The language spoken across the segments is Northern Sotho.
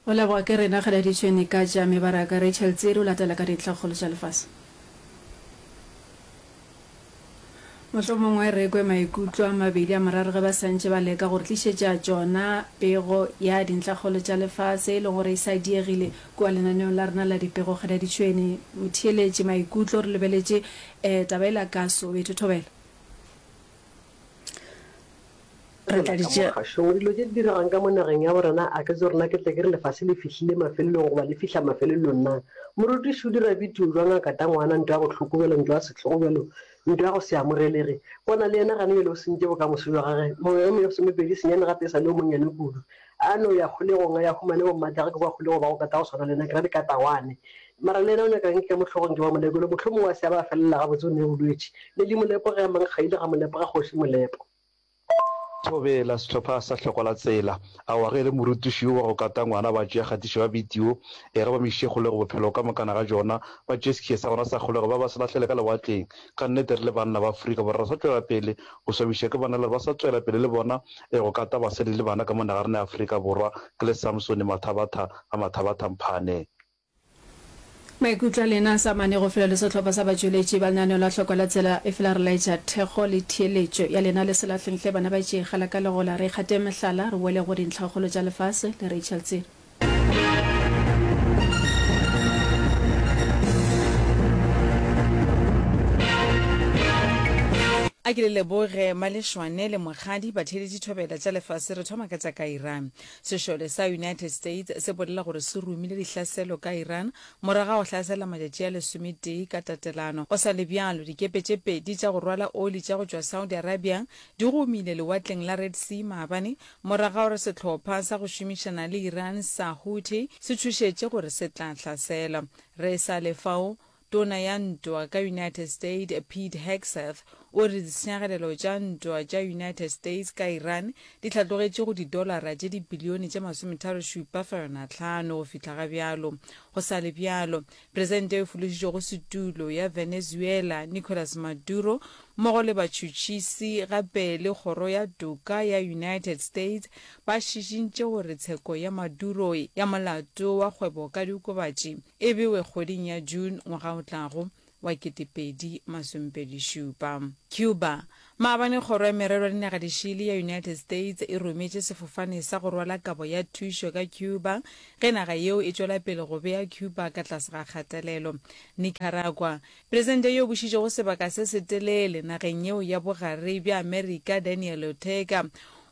Go leboga ke rena Kgeladitšhwene ka tša mebaraka Rachel Tsiri o latela ka dintlhakgolo tša lefase. Mohlomongwe re kwe maikutlo a mabedi a mararo ge ba sa ntše ba leka go re tlišetša tšona pego ya dintlhakgolo tša lefase e le gore e sa diegile kua lenaneong la rena la dipego Kgeladitšhwene. Motheeletši maikutlo re lebeletše um taba yela ka Soweto. Thobela. Re tla di Ka mo tšea. kgašong, dilo tše di diregang ka mo nageng ya bo rena, a ke tsebe gore na ke tle ke re lefase le fihlile mafelelong goba le fihla mafelelong na. Morutiši o dira bitio bjang a kata ngwana, ntwa ya bohloko bjalo, ntwa ya sehlogo bjalo, ntwa ya go se amogelege. Bona le yena gane bjale o sentše bokamoso bja gage. Mengwaga e mesomepedi senyane gape e sa le yo monnyane kudu. A no ya kgolegong a ya humane bommatagwe ke kwa kgolego ba go kata go swana le nna, ke ra dikatawane. Mara le yena o nyaka eng ke ka mo hlogong ke ba Molekolo, mohlomongwe a se a ba a felela gabotse o ne bolwetši. Lady Molepo ge a mankgaile ga Molepo ga kgoši Molepo. Thobela, sehlopha sa Hloko la Tsela. Aowa, ge e le morutiši yo wa go kata ngwana ba tšea kgatišo ya bidio e ge ba mo išitše kgolego bophelo ka mokana ga bjona, ba tšee sekhie sa gona sa kgolego ba ba se lahlele ka lewatleng. Ka nnete re le banna ba Afrika Borwa re sa tšwela pele go swabiša ke banna le gore ba sa tšwela pele le bona e go kata basadi le bana ka mo naga rena ya Afrika Borwa. Ke le Samsone Mathabatha ga Mathabatha Mphane. Maikutlo a lena a sa amane go fela le sehlopha sa batšweletši ba lenaneo la Hloko la Tsela, efela re laetša thekgo le theeletšo ya lena le se lahleng hle bana ba tšee gala ka legola re ikgateng mehlala re boele go dintlhakgolo tša lefase le Rachel Tsiri. A ke le leboge Malešwane le Mokgadi, batheeletši thobela tša lefase. Re thoma ka tša ka Iran. Sešole sa United States se bolela gore se romile dihlaselo ka Iran morago ga go hlasela matšatši a lesometee ka tatelano. Go sa le bjalo, dikepe tše pedi tša go rwala oli tša go tšwa Saudi Arabia di gomile lewatleng la Red Sea maabane morago ga gore sehlopha sa go šomišana le Iran sa Houthi se tšhošetše gore se tla hlasela. Re sa le fao, Tona ya Ntwa ka United State Pete Hegseth o re ditshenyagalelo tša ntwa tša United States ka Iran di hlatlogetše go didolara tše dibilione tše masometharo-šupa fegelwana hlano go fihla ga bjalo. Go sa le bjalo, Presidente yo fološitšwego setulo ya Venezuela Nicolas Maduro mmogo le batšhotšhisi gape le Kgoro ya Toka ya United States ba šišintše gore tsheko ya Maduro ya molato wa kgwebo ka diokobatši e bewe kgweding ya June ngwaga o tlago wa 2027. Cuba. Maabane Kgoro ya Merero ya Dinaga Dišele ya United States e rometše sefofane sa go rwala kabo ya thušo ka Cuba ge naga yeo e tšwela pele go bea Cuba ka tlase ga kgatelelo. Nicaragua. Presidente yo bušitšego sebaka se setelele nageng yeo ya bogare bja Amerika Daniel Ortega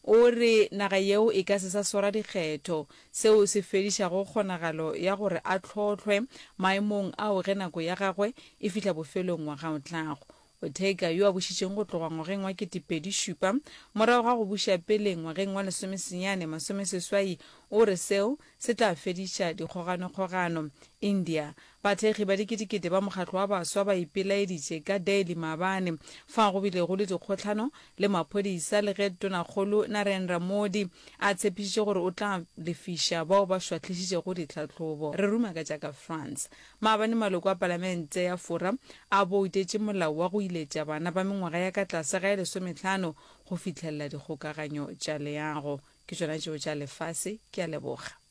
o re naga yeo e ka se sa swara dikgetho seo se fedišago kgonagalo ya gore a hlohlwe maemong ao ge nako ya gagwe e fihla bofelong ngwaga o tlago. Ortega, yo a bušitšeng go tloga ngwageng wa 2007 morago ga go buša pele ngwageng wa lesomesenyane masomeseswai, o re seo se tla fediša dikgoganokgogano. India, Bathekgi ba diketekete ba mokgatlo wa baswa ba ipelaeditše ka Delhi maabane fao go bilego le dikgohlano le maphodisa le ge Tonakgolo Narendra Modi a tshepišitše gore o tla lefiša bao ba šwahlišitšego ditlhahlobo. Re ruma ka tša ka France. Maabane maloko a palamente ya Fora a boutetše molao wa go iletša bana ba mengwaga ya ka tlase ga e lesomehlano go fihlelela dikgokaganyo tša leago. Ke tšona tšeo tša lefase. Ke a leboga.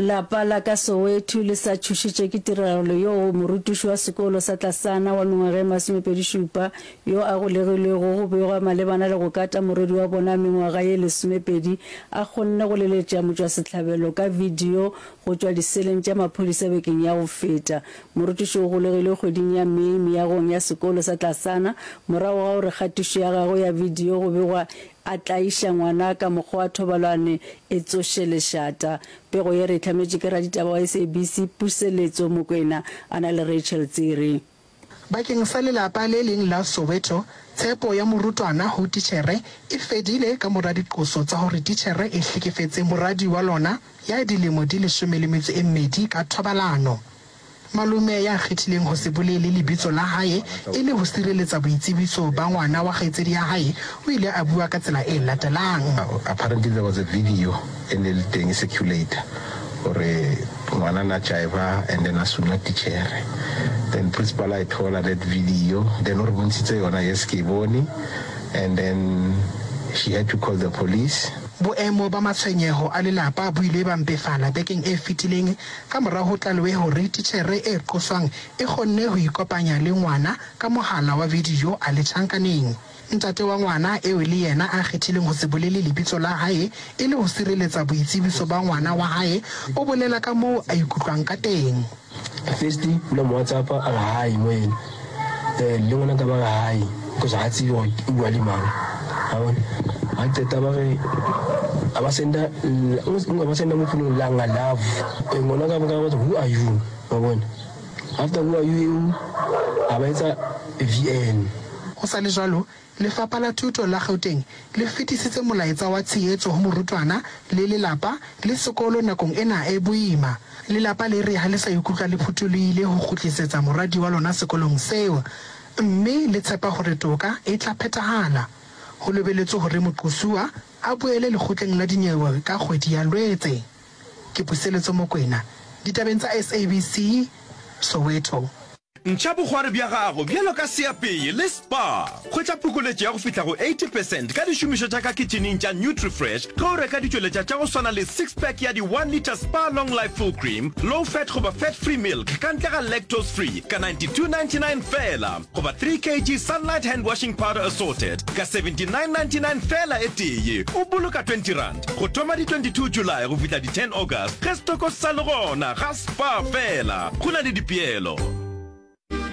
Lapa la ka Soweto le sa tšhošitše ke tiragalo yeo morutiši wa sekolo sa tlasana wa mengwaga e masomepedi-šupa yo a golegilwego go begwa malebana le go kata morwedi wa bona wa mengwaga ye lesomepedi a kgonne go leletša motšwasehlabelo ka video go tšwa diseleng tša maphodisa bekeng ya go feta. Morutiši o golegilwe kgweding ya May meagong ya sekolo sa tlasana morago ga gore kgatišo ya gagwe ya bidio go begwa a tlaiša ngwana ka mokgwa wa thobalwane e tsoše lešata. Pego ye re e hlametšwe ke raditaba wa SABC Puseletso Mokwena a na le Rachel Tsiri. Bakeng sa lelapa le leng la Soweto, tshepo ya morutwana ho titjhere e fedile ka mora diqoso tsa hore titjhere e hlekefetse moradi wa lona ya dilemo di leshome le metso e mmedi ka thobalano. Malome ya kgethileng ho se bolele lebitso la hae e le ho sireletsa boitsebiso ba ngwana wa kgaitsedi ya hae, o ile a bua ka tsela e latelang. Apparently there was a video e ne le teng e circulate gore ngwana na jaiva and then a suna tichere. Then principal a e thola that video then o re bontshitse yona, yes ke e bone and then she had to call the police. Boemo ba matshwenyeho a lelapa bo ile ba mpefala bekeng e fetileng ka mora ho tlalewe hore titjhere e qoswang e kgonne ho ikopanya le ngwana ka mohala wa video a le tjhankaneng. Ntate wa ngwana eo le yena a kgethileng ho se bolele lebitso la hae e le ho sireletsa boitsebiso ba ngwana wa hae, o bolela ka moo a ikutlwang ka teng. First o la mo WhatsApp-a a re hi mo yena, then le ngwanaka ba re hi because ga tsebe gore o bua le mang, wa bona. Ga qeta ba re a ba senda a ba senda mo founung langa love, ngwanaka a botsa who are you, wa bona. After who are you eo a ba etsa VN. Ho sa le jwalo, Lefapha la Thuto la Gauteng le fetisitse molaetsa wa tshehetso ho morutwana le lelapa le sekolo nakong ena e boima. Lelapa le re ha le sa ikutlwa le phutholohile ho kgutlisetsa moradi wa lona sekolong seo mme le tshepa hore toka e tla phethahala. Ho lebeletswe hore moqosuwa a boele lekgotleng la dinyewe ka kgwedi ya Lwetse. Ke Puseletso Mokwena, ditabeng tsa SABC, Soweto. Ntšha bokgwari bja gago bjalo ka seapei le Spar. Hwetša phokoletšo ya go fihla go 80 percent ka dišomišo tša ka kitšhining tša Nutrifresh ge o reka ditšweletša tša go swana le six pack ya di one litre Spar Long Life Full Cream, Low Fat goba Fat Free Milk ka ntle ga Lactose Free ka 92.99 feela goba 3 kg Sunlight Hand Washing Powder Assorted ka 79.99 feela e tee, o boloka R20. Go thoma di 22 July go fihla di 10 August ge setoko se sa le gona ga Spar feela. Go na le dipeelo.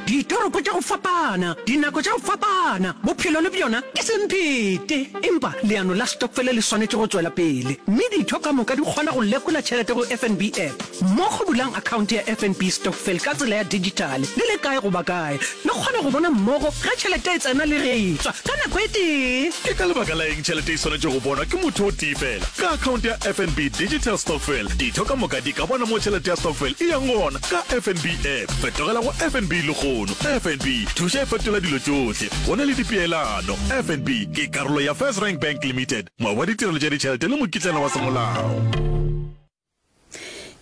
Ditoropo tša go fapana, dinako tša go fapana, bophelo le bjona ke semphete. Empa leano la stokfele le swanetše go tšwela pele, mme ditho ka moka di kgona go lekola tšhelete go FNB app. Mmogo bulang akhaonte ya FNB Stokvel ka tsela ya dijithale le le kae goba kae. Le kgona go bona mmogo ge tšhelete e tsena le ge e tšwa ka nako e tee. Ke ka lebaka la eng tšhelete e swanetše go bonwa ke motho o tee fela? Ka akhaonte ya FNB Digital Stokvel, ditho ka moka di ka bona mo tšhelete ya stokvel e yang gona ka FNB app. Fetogela go FNB lehono. FNB, thuša e fetola dilo tšohle. Go na le dipeelano. FNB ke karolo ya FirstRand Bank Limited, moabi wa ditirelo tša ditšhelete le mokitlana wa semolao.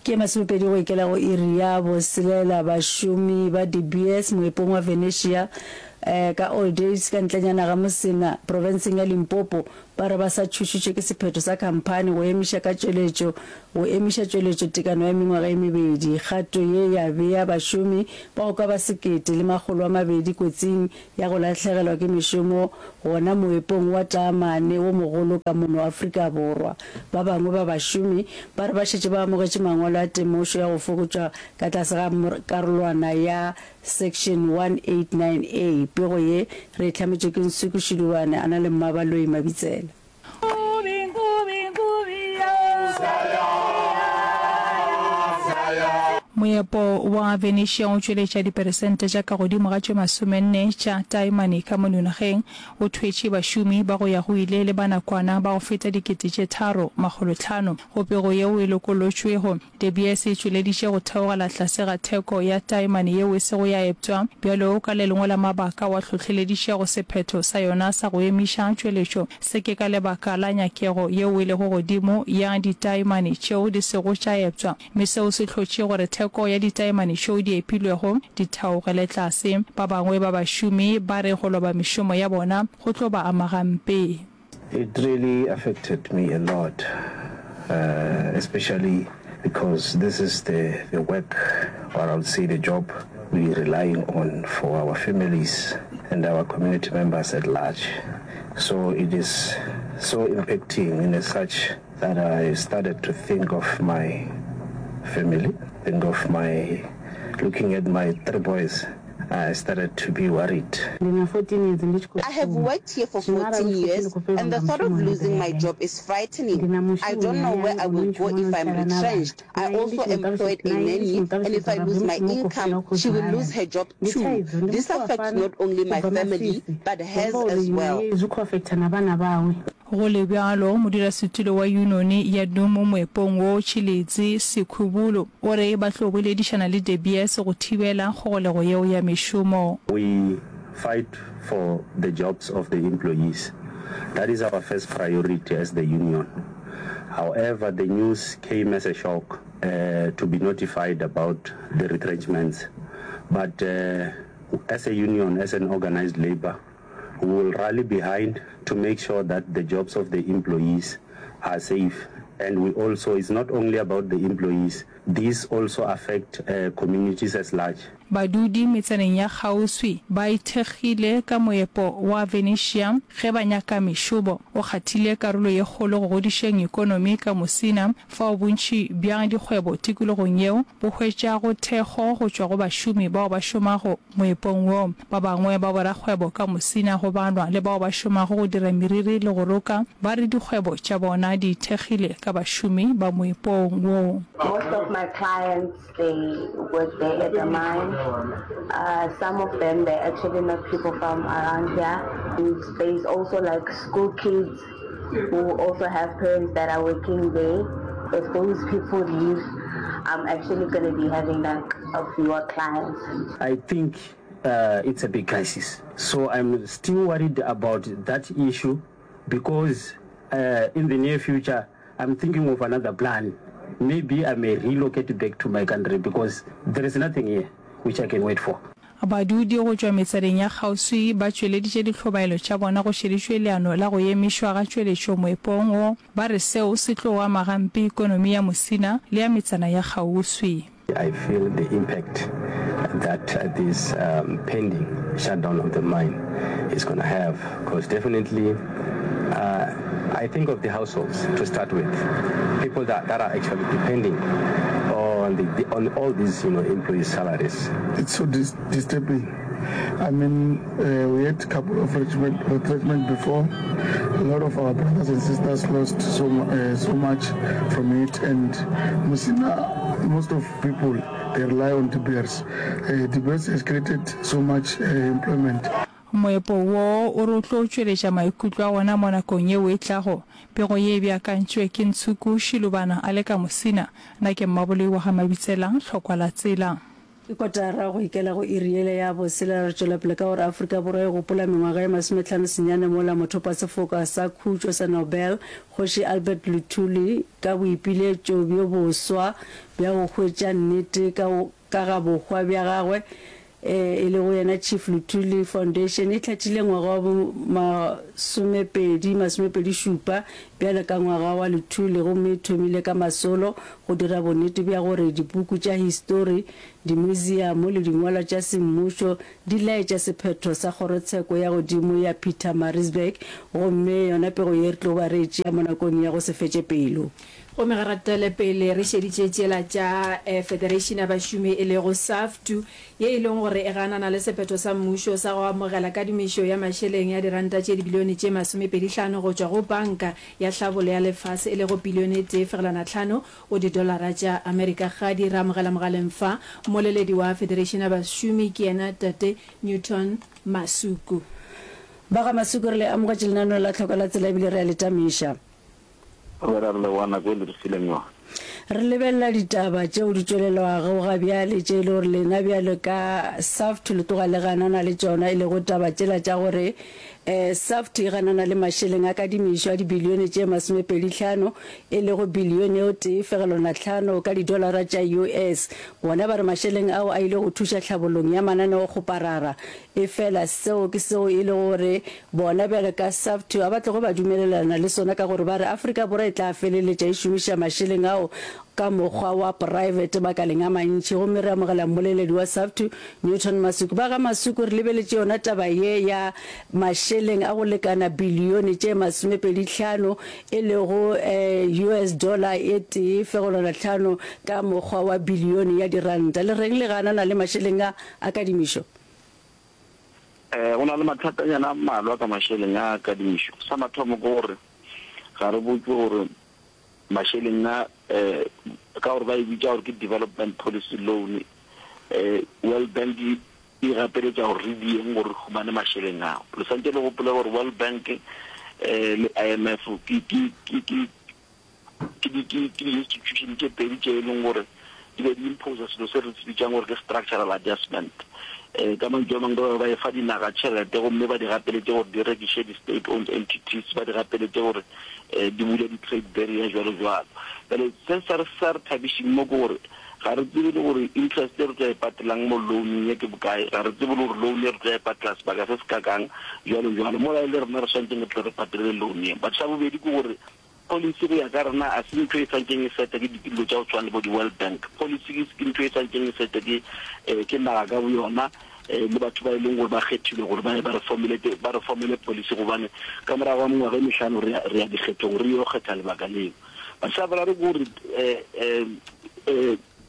Ke masomepedi go ikela go iri ya boselela bašomi ba De Beers moepong wa Venetia ka Old Days ka ntlenyana ga Musina profenseng ya Limpopo ba re ba sa tšhošitšwe ke sephetho sa khamphani go emiša ka tšweletšo go emiša tšweletšo tekano ya mengwaga e mebedi. Kgato ye ya bea bašomi ba go ka ba 1200 kotsing ya go lahlegelwa ke mešomo gona moepong wa taamane wo mogolo ka mono Afrika Borwa. Ba bangwe ba bašomi ba re ba šetše ba amogetše mangwalo a temošo ya go fokotšwa ka tlase ga karolwana ya Section 189 A. Pego ye re e hlametšwe ke Nsuku Shilubane a na le Mmabaloi Mabitsela. Moepo wa Venetia o tšweletša diperesente tša ka godimo ga tše masomenne tša taemane ka mono nageng. O thwetše bašomi ba go ya go ile le ba nakwana ba go feta 3500. Go pego yeo e lokolotšwego, De Beers e tšweleditše go theogela tlase ga theko ya taemane yeo e sego ya eptwa bjalo ka le lengwe la mabaka wa hlohleleditšego sephetho sa yona sa go emiša tšweletšo. Se ke ka lebaka la nyakego yeo e lego godimo ya ditaemane tšeo di sego tša eptwa, mme seo se hlotše gore theko ya ditaemane tšeo di epilwego di theogele tlase. Ba bangwe ba bašomi ba re go loba mešomo ya bona go tlo ba ama gampe. It really affected me a lot, especially because this is the the work or I would say the job we relying on for our families and our community members at large. So it is so impacting in a such that I started to think of my family, think of my looking at my three boys. I started to be worried. Ndi na 14 years ndi tshi khou I have shuma. worked here for Zwino arali 14 hu tshi khou pfi years ndi khou fhelelwa and the nga thought of mushumo ndi ḓo losing ya my gai? job is frightening. Ndi na I mushumi don't know hayani where I o no will go ntshuma o no if I'm sala na vhana. retrenched. I Naye ndi also tshi mu ṱalutshedza employed a naye ndi tshi nanny mu and if ṱalutshedza I uri lose habe my mushumo u khou income, fhela u khou she will ḓala. lose her job Ndi too. thaidzo ndi This muthu wa affects fhano not only u my bva family Masisi. but Zwi hers amba as uri well. naye zwi khou affecta na vhana vhawe. Go le bjalo, modulasetulo wa yunoni ya Dumo moepong wo, Tshilidzi Sikhubulu, o re ba tlo boledišana le De Beers go thibela kgogolego yeo ya mešomo. We fight for the jobs of the employees, that is our first priority as the union. However, the news came as a shock to be notified about the retrenchments. But as a union, as an organised labour, we will rally behind to make sure that the jobs of the employees are safe. And we also, it's not only about the employees, these also affect communities as large. Badudi metsaneng ya kgauswi ba ithekgile ka moepo wa Venetia ge ba nyaka mešomo. O kgathile karolo ye kgolo go godišeng ekonomi ka Musina, fao bontši bja dikgwebo tikologong yeo bo hwetšago thekgo go tšwa go bašomi bao ba šomago moepong wo. Ba bangwe ba borakgwebo ka Musina go balwa le bao ba šomago go dira meriri le go roka ba re dikgwebo tša bona di ithekgile ka bašomi ba moepong wo. Most of my clients they work there at the mine. Uh, some of them they're actually not people from around here. And there's also like school kids who also have parents that are working there. If those people leave, I'm actually going to be having like a fewer clients. I think uh, it's a big crisis. So I'm still worried about that issue because uh, in the near future, I'm thinking of another plan. Maybe I may relocate back to my country because there is nothing here which I can wait for. Badudi go tšwa metsaneng ya kgauswi ba tšweleditše dihlobaelo tša bona go šeditšwe leano la go emišwa ga tšweletšo moepong wo, ba re seo se tlo ama gampe ikonomi ya Musina le ya metsana ya kgauswi. I feel the impact that this pending shutdown of the mine is gonna have cause definitely I think of the households to start with, people that, that are actually depending on the, on all these you know employees salaries. It's so dis disturbing. I mean, uh, we had a couple of retrenchment, retrenchment before. A lot of our brothers and sisters lost so, uh, so much from it. And Musina, most of people, they rely on De Beers. Uh, De Beers has created so much uh, employment. Moepo wo o re o tlo tšweletša maikutlo a wona mo nakong yeo e tlago. Pego ye e beakantšwe ke Ntshuku Shilubana a le ka Musina. Nna ke Mmaboloi wa ga Mabitsela, Hlokwa la Tsela. Ke kotara go ikela go iri yela ya boselela re tšwela pele ka gore Afrika Borwa e gopola mengwaga ye masometlhano senyane mola mothopasefoka sa khutšo sa Nobel, Kgoši Albert Luthuli ka boipiletšo bjo boswa bja go hwetša nnete ka ka ga bohwa bja gagwe e lego yena Chief Luthuli Foundation e hlathile ngwaga wa bo masomepedi masomepedi-šupa bjalo ka ngwaga wa Luthuli gomme e thomile ka masolo go dira bonnete bja gore dipuku tša histori, dimuziamo le dingwalwa tša semmušo di laetša sephetho sa kgorotsheko ya godimo ya Pietermaritzburg gomme yona pego ye re tlo ba re e tšea mo nakong ya go se fetše pelo. Gomme ge re tšwele pele re šeditše tšela tša Federation ya Bašomi e lego SAFTU ye e leng gore e ganana le sephetho sa mmušo sa go amogela kadimišo ya mašeleng ya diranta tše dibilione tše masomepedihlano go tšwa go Banka ya Hlabolo ya Lefase e lego pilione e tee fegelwana tlhano go didolara tša Amerika. Gadi re amogela mogaleng fa mmoleledi wa Federation ya Bašomi ke yena Tate Newton Masuku. Ba ga Masuku re le amogetše lenaneong la Tlhoko la Tsela ebile re a le tamiša. Re re leboga nako e le re fileng yona. Re lebelela ditaba tšeo di tšwelelwago ga bjale tše e le gore lena bjalo ka SAFTU le tloga le ganana le tšona, e lego taba tšela tša gore SAFTU e ganana le mašeleng a kadimišo a dibilione tše masomepedihlano, e lego bilione o tee fegelwana tlhano ka didolara tša US. Bona ba re mašeleng ao a ile go thuša tlhabollong ya mananeokgoparara Efela seo ke seo e lego gore bona bjalo ka SAFTU ga ba tloge ba dumelelana le sona ka gore ba re Afrika Borwa e tla feleletša e šomiša mašeleng ao ka mokgwa wa poraebete makaleng a mantši. Gomme re amogela mmoleledi wa SAFTU, Newton Masuku. Ba ga Masuku, re lebeletše yona taba ye ya mašeleng a go lekana bilione tše masomepedihlano, e lego US dollar e tee fegelwana tlhano ka mokgwa wa bilione ya diranta. Le reng le ganana le mašeleng a a kadimišo? Go na le mathatanyana a mmalwa ka mašeleng a kadimišo. Sa mathomo ke gore ga re botšwe gore mašeleng a, ka gore ba e bitša gore ke development policy loan, World Bank e gapeletša gore re dieng gore re humane mašeleng ao. Le swantše le gopole gore World Bank le IMF ke, ke, ke, ke, Ke di, ke, ke di-institution tše pedi tše e leng gore di be di imposa selo se re se bitsang gore ke structural adjustment. Um ka mantšu a mangwe ba be ba efa dinaga tšhelete gomme ba di gapeletše gore di rekiše di-state owned entities, ba di gapeletše gore um di bule di-trade barrier jwalo jwalo. Bjale se sa re sa re thabišeng mo ke gore. Ga re tsebe le gore interest e re tlo e patelang mo loaneng ye ke bokae, ga re tsebe le gore loan ye re tlo e patela sebaka se se kakang, bjalo bjalo. Mola e le rena re swanetšeng re tle re patele loan ye. But sa bobedi ke gore policy go ya ka rena a se ntho e swanetšeng e setwe ke dilo tša go tshwana le bo di-World Bank. Policy ke ntho e swanetšeng e setwe ke ke naga ka boyona le batho ba e leng gore ba kgethilwe gore ba ye ba re formulate, ba re formele policy gobane ka morago ga mengwaga e mehlano re ya re ya dikgethong re yo kgetha lebaka leo. But sa boraro ke gore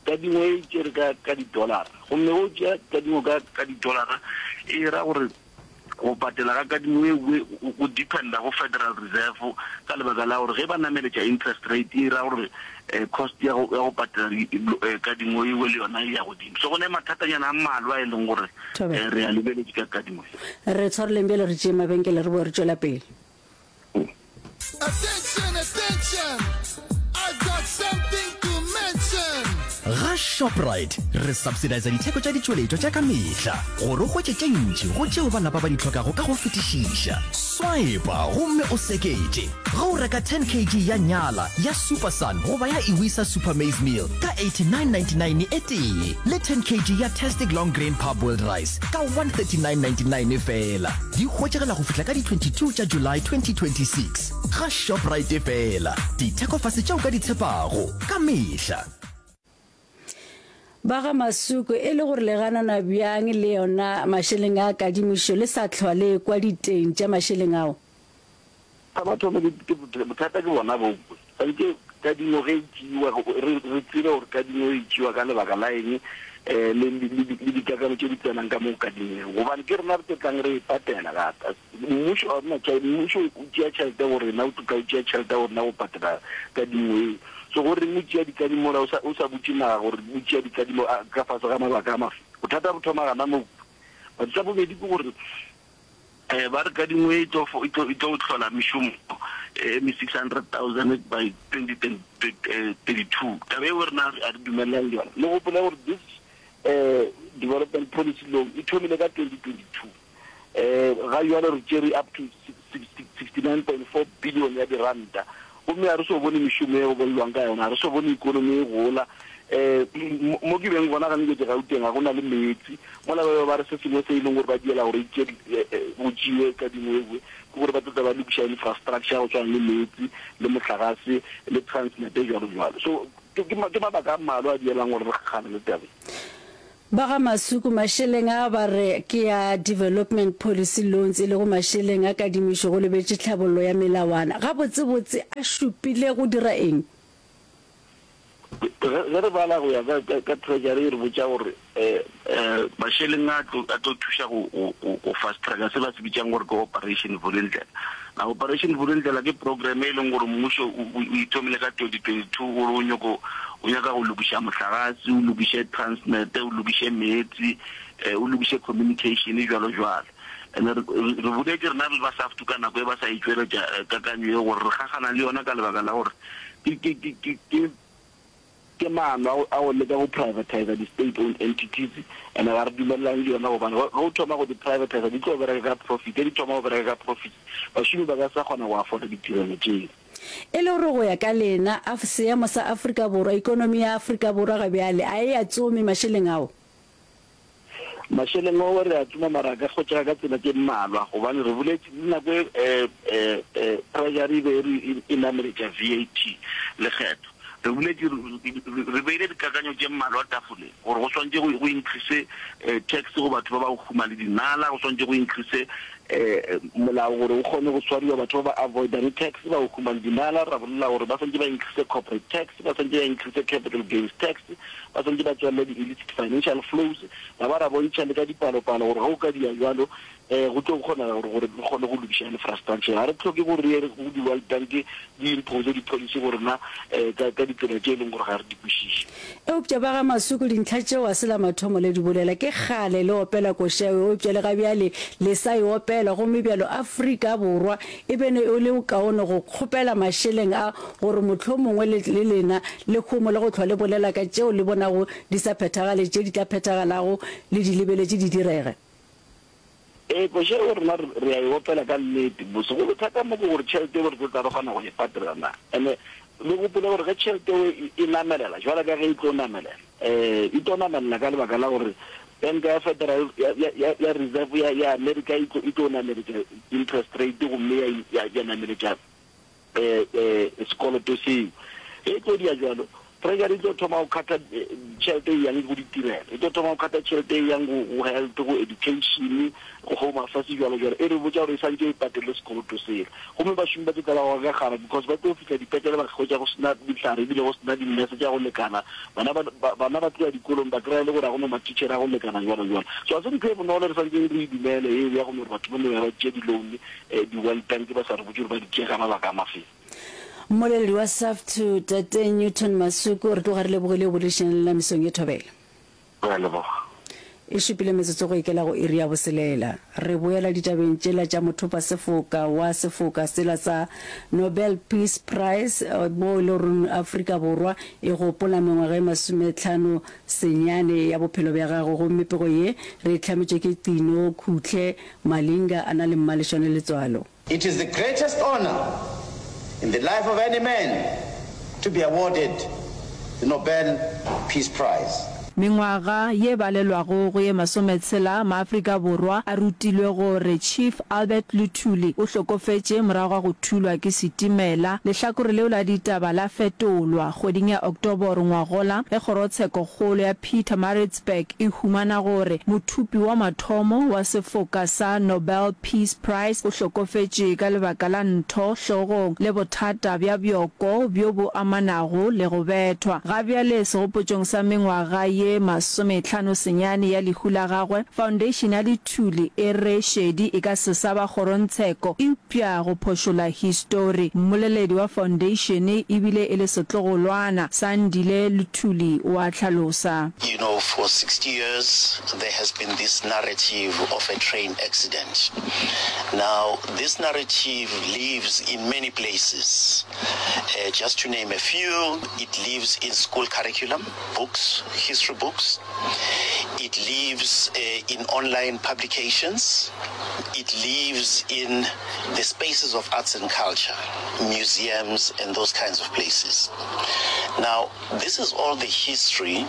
kadimo e tšere ka ka di-dollar-a gomme ge o tšea kadimo ka ka di-dollar-a e ra gore go patela ga kadimo e go dependa go Federal Reserve ka lebaka la gore ge ba nameletša interest rate e ra gore cost ya go ya go patela kadimo e le yona e ya godimo. So go ne mathatanyana a mmalwa e leng gore re a lebeletše ka kadimo e. Re tshwareleng bjale re tšee mabenkele re boe re tšwela pele. Attention, attention, I've got something to mention. Ga Shoprite re subsidisa ditheko tša ditšweletšwa tša ka mehla gore o hwetše tše ntši go tšeo ba lapa ba di hlokago ka go fetišiša. Swipa gomme o seketše ge o reka 10 kg ya nyala ya Super Sun goba ya Iwisa Super Maize Meal ka 89.99 e tee le 10 kg ya Tastic Long Grain Parboiled Rice ka 139.99 feela. Di hwetšagala go fihla ka di 22 tša July 2026 ga Shoprite feela. Dithekofase tše o ka di tshepago ka mehla. Ba ga Masuku, e le gore le ganana bjang le yona mašeleng a kadimišo le sa hlwa le ekwa diteng tša mašeleng ao? Sa mathomo ke, ke, bothata ke bona bo, santše kadimo ge e tšeiwa, re, re tsebe gore kadimo e tšeiwa ka lebaka la eng, um le, le, le, le dikakanyo tše di tsenang ka mo kadimeng, gobane ke rena re tlo tlang re e patela gape. Mmušo ga o na tšhelete, mmušo o tšea tšhelete go rena, o tlo tla o tšea tšhelete go rena go patela kadimo eo. So go reng o tšea dikadimo mola o sa, o sa botše naga gore o tšea dikadimo ka fase ga mabaka a mafe? Bothata bo thoma gana moo. But sa bobedi ke gore, Eh, ba re kadimo e tlo e tlo e tlo hlola mešomo e me 600,000 by 2032. Taba eo rena a re dumelelane le yona. Le gopole gore this eh development policy loan e thomile ka 2022. Eh ga jwale re tšere up to 69.4 billion ya diranta. Gomme ga re so bone mešomo e go bolelwang ka yona, ga re so bone ikonomi e gola. Um mo ke beng gona gane ke Gauteng ga go na le meetse. Mola ba be ba re se sengwe se e leng gore ba diela gore e tšee go tšewe kadimo e nngwe ke gore ba tlo tla ba lokiša infrastructure ya go tshwana le meetse le mohlagase le Transnet jwalo jwalo. So ke mabaka a mmalwa a dielang gore re kgakgane le taba e. Ba ga Masuku, mašeleng a ba re ke a Development Policy Loans e lego mašeleng a kadimišo go lebetše tlhabollo ya melawana. Gabotsebotse a šupile go dira eng? Ge re bala go ya ka, ka, ka Treasury e re botša gore um mašeleng a tlo, a tlo thuša go, go, go, go fast tracka se ba se bitšang gore ke Operation Vulindlela. Na Operation Vulindlela ke program e leng gore mmušo o, o, o ithomile ka 2022 gore o nyoko, o nyaka go lokiša mohlagase, o lokiše Transnet, o lokiše meetse, o lokiše communication jwalo jwalo. And-e re, re, re boletše rena re le ba SAFTU ka nako e ba sa e tšweletša kakanyo ye gore re kgakgana le yona ka lebaka la gore ke, ke, ke, ke, ke, Ke maano a go leka go privatisa di state owned entities and ga re dumelelane le yona gobane ge o thoma go di privatisa di tlo bereka ka profit, ge di thoma go bereka ka profit bašomi ba ka se sa kgona go afforda ditirelo tšeo. E le gore go ya ka lena, a seemo sa Afrika Borwa, ikonomi ya Afrika Borwa ga bjale a e a tsome mašeleng ao? Mašeleng ao re a tsoma mara a ka hwetšega ka tsela tše mmalwa gobane re boletše le nako e Treasury e be e re e nameletša VAT, lekgetho. Re boletše re beile dikakanyo tše mmalwa tafoleng gore go swanetše go increase tax go batho ba ba go huma le dinala, go swanetše go increase molao gore o kgone go swariwa batho ba ba avoidang tax ba go huma le dinala, ra bolela gore ba swanetše ba increase corporate tax, ba swanetše ba increase capital gains tax. Ba swanetše ba tswalele di-illicit financial flows, ra ba ra bontšha le ka dipalopalo gore ge o ka dia bjalo um go tlo kgonega gore gore re kgone go lokiša infrastructure. Ga re hloke gore re ye go di-World Bank di impose di-policy go rena um ka ka ditsela tše e leng gore ga re di kwešiše. Eupša ba ga Masuku dintlha tšeo ga se la mathomo le di bolela. Ke kgale le opela koša eo, eupša le ga bjale le sa e opela. Gomme bjalo Afrika Borwa E be ne e le kaone go kgopela mašeleng a gore mohlomongwe le, le lena le homole go hlwa le bolela ka tšeo le bonago di sa phethagale, tše di tla phethagalago le di lebeletše di direge. Ee, koša eo rena re, re a e opela ka nnete. Bosegolo thata mo ke gore tšhelete eo re tlo tla re kgona go e patela na. And-e. Le gopole gore ge tšhelete eo e namelela, jwalo ka ge e tlo namelela, e tlo namelela ka lebaka la gore Banka ya Federal ya, ya, ya, ya Reserve ya, ya Amerika e tlo, e tlo nameletša interest rate gomme ya, ya, ya nameletša eh, eh, sekoloto seo. Ge e tlo dia jwalo, Treasury e tlo thoma go khatha tšhelete e yang go ditirelo, e tlo thoma go khatha tšhelete e yang go, go health, go education, go home affairs, jwalo jwalo. E re botša gore e santše e patele sekoloto sela. Gomme bašomi ba tlo tlala go gakgara because ba tlo fihla dipetlele ba hwetša go sena dihlare ebile go sena di-nurse tša go lekana. Bana ba, ba, bana ba tlo ya dikolong ba kry-a e le gore ga go na mathitšhere a go lekana jwalo jwalo. So ga se ntho e bonolo re santšeng re e dumele eo ya go no gore batho ba no ya ba tšea di-loan di-World Bank ba sa re botše gore ba di tšea ka mabaka a mafeng. Mmoleledi wa SAFTU, Tate Newton Masuku, re tloga re lebogile go boledišana le lena mesong ye thobela. Re a leboga. E šupile metsotso go ikela go iri ya boselela. Re boela ditabeng tšela tša mothopa sefoka wa sefoka sela sa Nobel Peace Prize moo e le goreng Afrika Borwa e gopola mengwaga e masometlhano senyane ya bophelo bja gagwe gomme pego ye re e hlametšwe ke Qino Khutle Malinga a na le Mmalešwane Letswalo. It is the greatest honor in the life of any man to be awarded the Nobel Peace Prize. Mengwaga ye balelwago go ye masometshela, maAfrika Borwa a rutilwe gore Chief Albert Luthuli o hlokofetše morago ga go thulwa ke setimela. Lehlakore leo la ditaba la fetolwa kgweding ya Oktoboro ngwagola ge kgorotshekokgolo ya Pietermaritzburg e humana gore mothupi wa mathomo wa sefoka sa Nobel Peace Prize o hlokofetše ka lebaka la ntho hlogong le bothata bja bjoko bjo bo amanago le go bethwa. Ga bjale segopotšong sa mengwaga ye masometlhano senyane ya lehu la gagwe, Foundation ya Lithuli e re šedi e ka se sa ba kgorongtsheko eupša go phošola histori. Mmoleledi wa Foundation e bile e le setlogolwana, Sandile Luthuli o a hlalosa. You know, for 60 years there has been this narrative of a train accident. Now, this narrative lives in many places. Uh, just to name a few, it lives in school curriculum, books, history books. It lives uh, in online publications. It lives in the spaces of arts and culture, museums, and those kinds of places. Now, this is all the history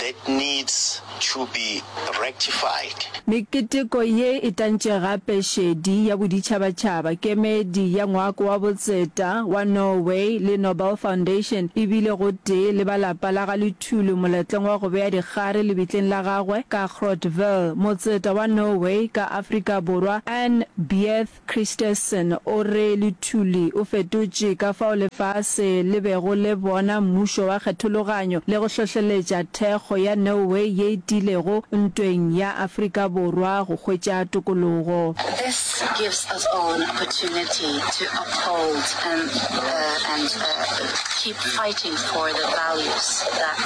that needs to be rectified. Meketeko ye e tantše gape šedi ya boditšhabatšhaba, kemedi ya Ngwako wa Botseta wa Norway le Nobel Foundation e bile gotee le ba lapa la ga Luthuli moletlong wa go bea dikgare lebitleng la gagwe ka Groutville. Motseta wa Norway ka Afrika Borwa Anne Beathe Christensen o re Luthuli o fetotše ka fao lefase le bego le bona mmušo wa kgethologanyo le go hlohleletša thekgo ya Norway ye e tiilego ntweng ya Afrika Borwa go hwetša tokologo. This gives us all an opportunity to uphold and and keep fighting for the values that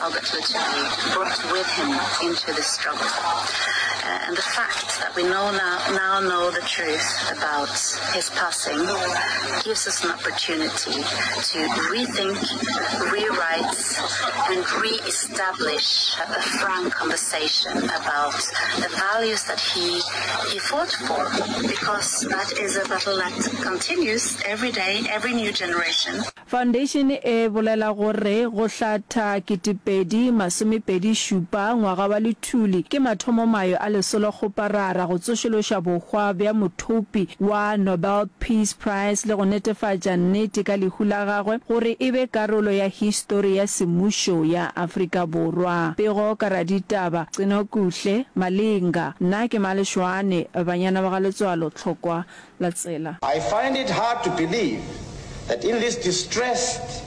Albert Luthuli brought with him into this struggle and the fact that we know now, now know the truth about his passing gives us an opportunity to rethink, rewrite, and re-establish a frank conversation about the values that he, he fought for, because that is a battle that continues every day, every new generation. Foundation e bolela gore go hlatha 2027 ngwaga wa Luthuli ke mathomomayo a lesolokgoparara go tsošološa bohwa bja mothopi wa Nobel Peace Prize le go netefatša nnete ka lehu la gagwe gore e be karolo ya histori ya semmušo ya Afrika Borwa. Pego ka raditaba, Cinokuhle Malinga. Nna ke Maleshwane, banyana ba ga Letswalo Tlhokwa la tsela. I find it hard to believe that in this distressed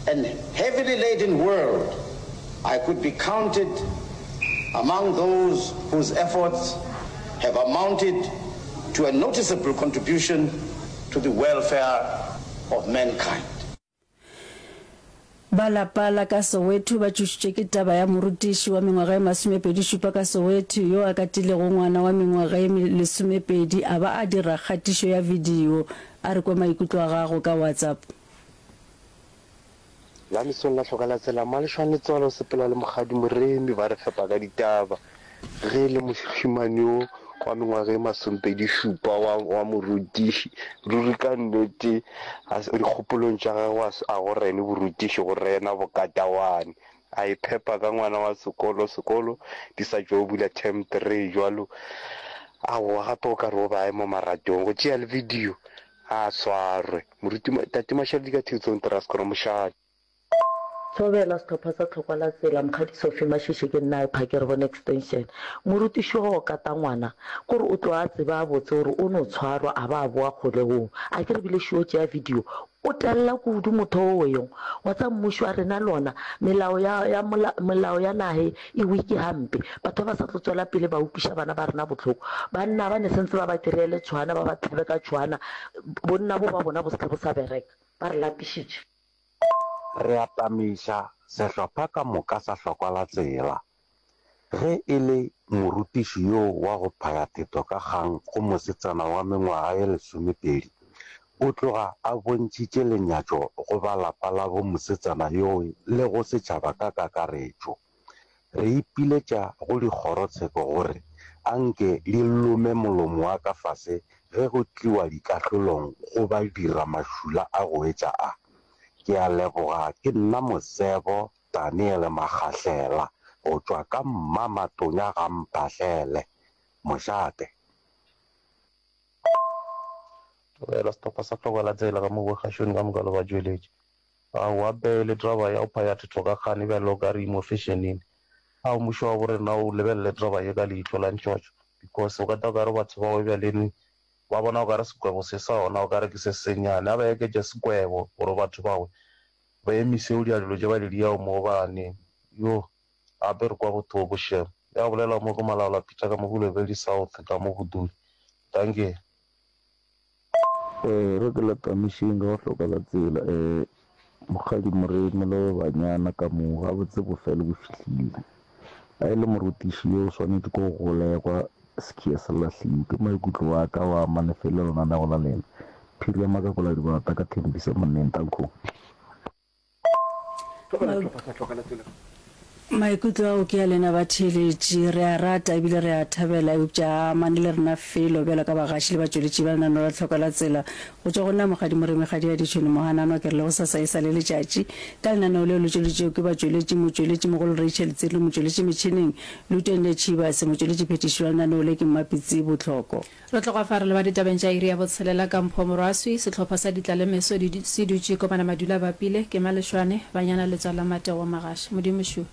and heavily laden world, I could be counted among those whose efforts have amounted to a noticeable contribution to the welfare of mankind. Ba lapa la ka Soweto ba tšošitšwe ke taba ya morutiši wa mengwaga e masomepedi-šupa ka Soweto yo a katilego ngwana wa mengwaga e lesomepedi a ba a dira kgatišo ya video. A re kwe maikutlo a gago ka WhatsApp. La mesong la hloka la tsela Malešwane Letswalo o sepela le Mokgadi Moremi ba re fepa ka ditaba. Ge e le mošemane yo. wa mengwaga e masomepedišupa wa, wa morutiši. Ruri ka nnete, a se, dikgopolong tša gagwe a se, a go rene borutiši, go rena bokatawane. A iphepa ka ngwana wa sekolo, sekolo di sa tšo bula term three jwalo. Aowa, gape o ka re o be a ye mo maratong go tšea le video, a swarwe. Moruti, Tate Mashaledi ka Thetsong Traskoro, mošate. Thobela, Sehlopha sa Tlhokwa la Tsela, Mokgadi Sophie Mashishi ke nna Epha ke re bone extension. Morutiši wa go kata ngwana kore o tlo a tseba botse gore o no tshwarwa a ba a boa kgolegong. A ke re bile šo tšea video o tella kudu motho o weyong wa tsa mmušo wa rena lona melao ya ya molao ya nahe e wiki hampe batho ba ba sa tlo tswela pele ba utlwiša bana ba rena bohloko banna ba ne sentse ba ba kry-ele tshwana ba ba tlhabe ka tshwana bonna bo ba bona bo se bo sa bereka ba re lapišitše. Re atamiša sehlopha ka moka sa hlokwa la tsela. Ge e le morutiši yo wa go phaya theto ka kgang go mosetsana wa mengwaga ye lesomepedi, o tloga a bontšhitše lenyatšo go ba lapa la bo mosetsana yoo le go setšhaba ka kakaretšo. Re ipiletša go dikgorotsheko gore anke di lome molomo wa ka fase ge go tliwa dikahlolong go ba dira mašula a go etša a. Ke a leboga ke nna Mosebo Daniel Makgahlela go tšwa ka Mmamatonya ga Mphahlele. Mošate. Tlogela sehlopha sa Tlhokwa la Tsela ka mo bogašong ka moka le batšweletši. Aowa bele draba ya go phaya thetho ka kgane bjale o ka re e mo fešeneng. Ao mmušo wa bo rena o lebelele draba ye ka leihlo la ntšotšo because o ka tla o ka re batho bao bjaleni ba bona o ka re sekwebo se sa ona o ka re ke se sennyane. A ba eketše sekwebo gore batho bao ba emise go dia dilo tše ba di diago mo gobane yo gape re kwa bothoko shem. Ya bolela mo ke Malaola Peter ka mo Bolobedu South ka mo Budule. Dankie. Re ke latamišeng ka go hloka la tsela. Mokgadi Moremi le banyana ka mo gabotse bofelo bo fihlile. A e le morutiši yo o swanetše ke go golegwa sekhia se lahliwe. Ke maikutlo a ka wa amane felo lenanego la lena. Phiri ya Makakola Dibata ka Thembisa Monneng. Danko. Maikutlo ao ke a lena batheeletši. Re a rata ebile re a thabela, eupša a amane le rena felo bjalo ka bagaši le batšweletši ba lenaneo la Tlhoko la Tsela. Go tšwa go nna Mokgadi Moremi Kgadi ya Ditšhwene Mohananwa ke re le gosasa e sa le letšatši. Ka lenaneo leo le tšweleditšwego ke batšweletši, motšweletši mogolo Rachel Tsiri, motšweletši metšhineng Lutende Tšhibase, motšweletši phethiši wa lenaneo le ke Mmapitsi Botlhoko. Re tloga fa re leba ditabeng tša iri ya botshelela ka Mpho Morwaswi, sehlopha sa Ditlalemeso di se dutše komana madula bapile, ke Malešwane, Banyana Letswalo la Mateo wa Magaša. Modimo šo.